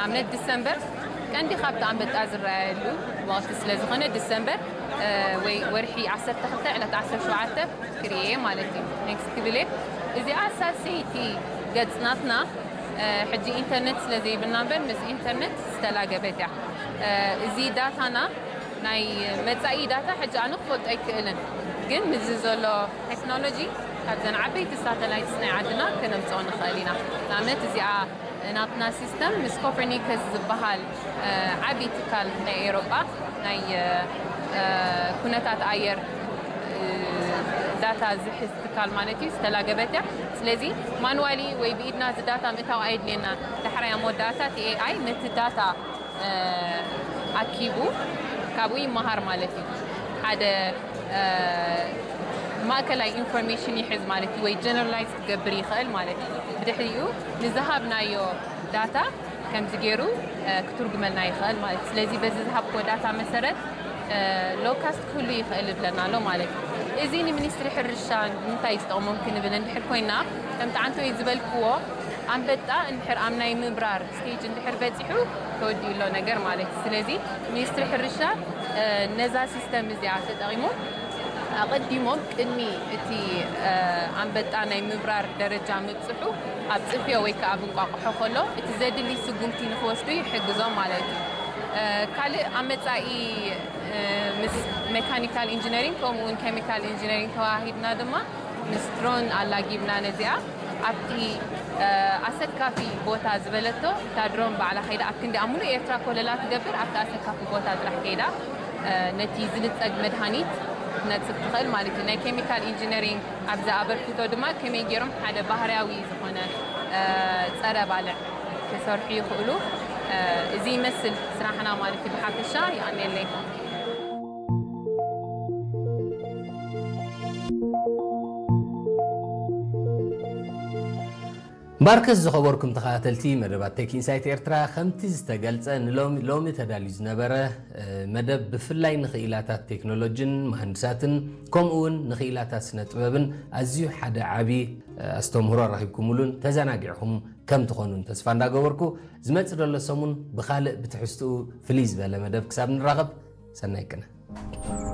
ኣብነት ዲሰምበር ቀንዲ ካብቲ ኣንበጣ ዝረኣየሉ ወቕቲ ስለ ዝኾነ ዲሰምበር ወይ ወርሒ ዓሰርተ ክልተ ዕለት ዓሰርተ ሸውዓተ ክርእየ ማለት እዩ። ኔክስት ክብል እየ። እዚኣ ሳሰይቲ ገጽ ናትና ሕጂ ኢንተርነት ስለ ዘይብልና እምበር ምስ ኢንተርነት ዝተላገበት እያ። እዚ ዳታና ናይ መጻኢ ዳታ ሕጂ ኣነ ክፈልጦ ኣይክእልን፣ ግን ምስዚ ዘሎ ቴክኖሎጂ ካብዘን ዓበይቲ ሳተላይትስ ናይ ዓድና ከነምጽኦ ንኽእል ኢና። ንኣብነት እዚኣ ናትና ሲስተም ምስ ኮፐርኒከስ ዝበሃል ዓብዪ ትካል ናይ ኤሮጳ ናይ ኩነታት ኣየር ዳታ ዝሕዝ ትካል ማለት እዩ ዝተላገበት እያ። ስለዚ ማንዋሊ ወይ ብኢድና እዚ ዳታ ምእታው ኣየድልየና። ዳሕራይ ኣብ መወዳእታ እቲ ኤኣይ ነቲ ዳታ ኣኪቡ ካብኡ ይመሃር ማለት እዩ። ሓደ ማእከላይ ኢንፎርሜሽን ይሕዝ ማለት እዩ፣ ወይ ጀነራላይዝ ክገብር ይኽእል ማለት እዩ። ብድሕሪኡ ንዝሃብናዮ ዳታ ከምዚ ገይሩ ክትርጉመልና ይኽእል ማለት እዩ። ስለዚ በዚ ዝሃብኮ ዳታ መሰረት ሎካስት ክህሉ ይኽእል ይብለና ኣሎ ማለት እዩ። እዚ ንሚኒስትሪ ሕርሻ ንምንታይ ዝጠቕሞም ክንብል እንድሕር ኮይና፣ ከም ጣዕንቶ እዩ ዝበልክዎ ኣንበጣ እንድሕር ኣብ ናይ ምብራር ስቴጅ እንድሕር በፂሑ ተወዲኡ ኣሎ ነገር ማለት እዩ። ስለዚ ሚኒስትሪ ሕርሻ ነዛ ሲስተም እዚኣ ተጠቒሞም ኣቐዲሞም ቅድሚ እቲ ኣንበጣ ናይ ምብራር ደረጃ ምብፅሑ ኣብ ፅፍዮ ወይ ከዓ ኣብ እንቋቑሖ ከሎ እቲ ዘድሊ ስጉምቲ ንክወስዱ ይሕግዞም ማለት እዩ። ካልእ ኣብ መፃኢ ምስ ሜካኒካል ኢንጂነሪንግ ከምኡ እውን ኬሚካል ኢንጂነሪንግ ተዋሂድና ድማ ምስ ድሮን ኣላጊብና ነዚኣ ኣብቲ ኣሰካፊ ቦታ ዝበለቶ እታ ድሮን ባዕላ ከይዳ ኣብ ክንዲ ኣብ ሙሉእ ኤርትራ ኮለላ ትገብር ኣብቲ ኣሰካፊ ቦታ ጥራሕ ከይዳ ነቲ ዝልፀግ መድሃኒት ክትነፅግ ትኽእል ማለት እዩ። ናይ ኬሚካል ኢንጂነሪንግ ኣብዚ ኣበርክቶ ድማ ከመይ ገይሮም ሓደ ባህርያዊ ዝኾነ ፀረ ባልዕ ክሰርሑ ይኽእሉ። እዚ ይመስል ስራሕና ማለት እዩ። ብሓፈሻ ይቐንየለይ። ባርከስ ዝኸበርኩም ተኸታተልቲ መደባት ቴክ ኢንሳይት ኤርትራ፣ ከምቲ ዝተገልጸ ንሎሚ ሎሚ ተዳልዩ ዝነበረ መደብ ብፍላይ ንኽኢላታት ቴክኖሎጂን መሃንድሳትን ከምኡ እውን ንኽኢላታት ስነ ጥበብን ኣዝዩ ሓደ ዓቢ ኣስተምህሮ ረኺብኩምሉን ተዘናጊዕኹም ከም ትኾኑን ተስፋ እንዳገበርኩ፣ ዝመጽእ ዘሎ ሰሙን ብኻልእ ብትሕዝትኡ ፍልይ ዝበለ መደብ ክሳብ ንራኸብ ሰናይ ቅነ።